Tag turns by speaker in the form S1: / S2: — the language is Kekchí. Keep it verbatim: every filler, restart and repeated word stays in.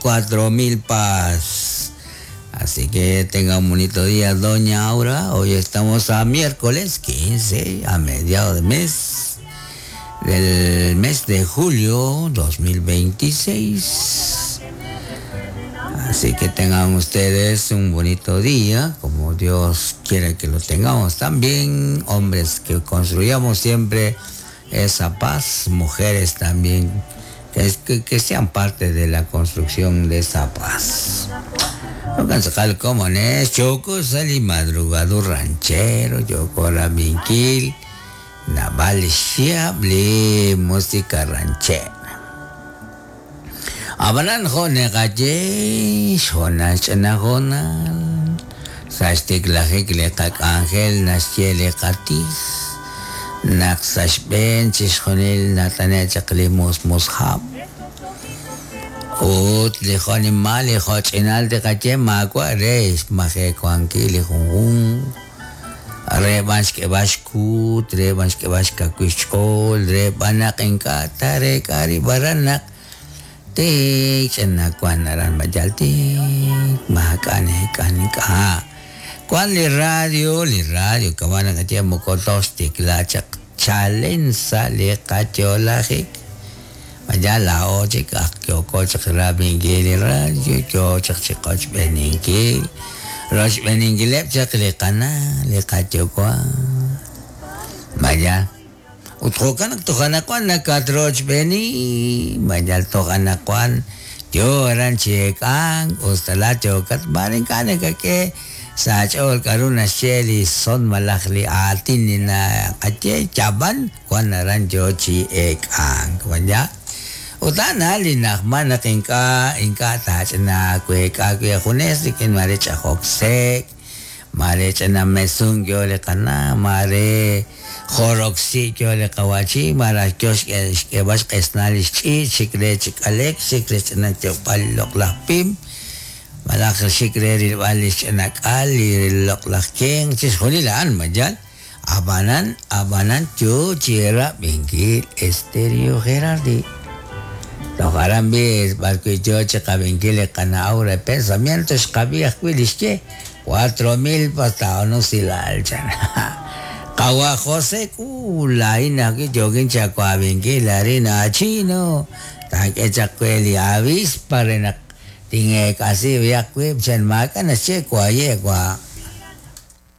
S1: Cuatro Milpas. Así que tenga un bonito día, doña Aura. Hoy estamos a miércoles quince, a mediados de mes, del mes de julio dos mil veintiséis. Así que tengan ustedes un bonito día, como Dios quiere que lo tengamos también. Hombres que construyamos siempre esa paz, mujeres también, que, que, que sean parte de la construcción de esa paz. Como es, choco sali madrugado ranchero, choco raminquil, naval xiable, música ranchera. Abanan jone galle, jona chana jona, sastik lajik le kak ángel, nasye katis, nak sashben, chishjonil, natane chaklimus mushab. Ut li jonimal li jochinal de kache makwa reis maje kuanki li junjun re bansh ke bashkut re bansh ke bashka kuichol re banak inkata re kari baranak te chena kuanaran majalti makane kanika kuan li radio li radio kawana kache mokotostik la chak chalensa li kacholajik ya la oche que ocoche rabingil radio yo chach beninkil rosh beningilep chak le kana le kachokwa maya utrokan tojana kwan nakatroch beni maya tojana kwan yo ranchekan ostala chokat marin kane que sachol karuna sheli son malakli atin na kache chaban kwan rancho chi ekang maya Utana linakman na kinka inka tach na kwe ka kwe kunes kin mare chahoksek mare chana mesung yo le kana mare joroxi yo le kawachi mara kyosh ke bash kesnal chi chikre chikalek chikre chana chopal loklapim malak chikre rilwal chanakal loklakeng chisjolilan mayal abanan abanan yo chira bingil Estéreo Gerardi. Tojarambi, barquichoche, cabinquile, canaura, pensamientos, cabías, cuilisque, cuatro mil pastaonos y la alchan. Kawa José, culaina, que joguin chacuabinquil, harina, chino, tanque chacueli, avispa, rena, tingue casi, viacuip, chan macana, checo, ayegua.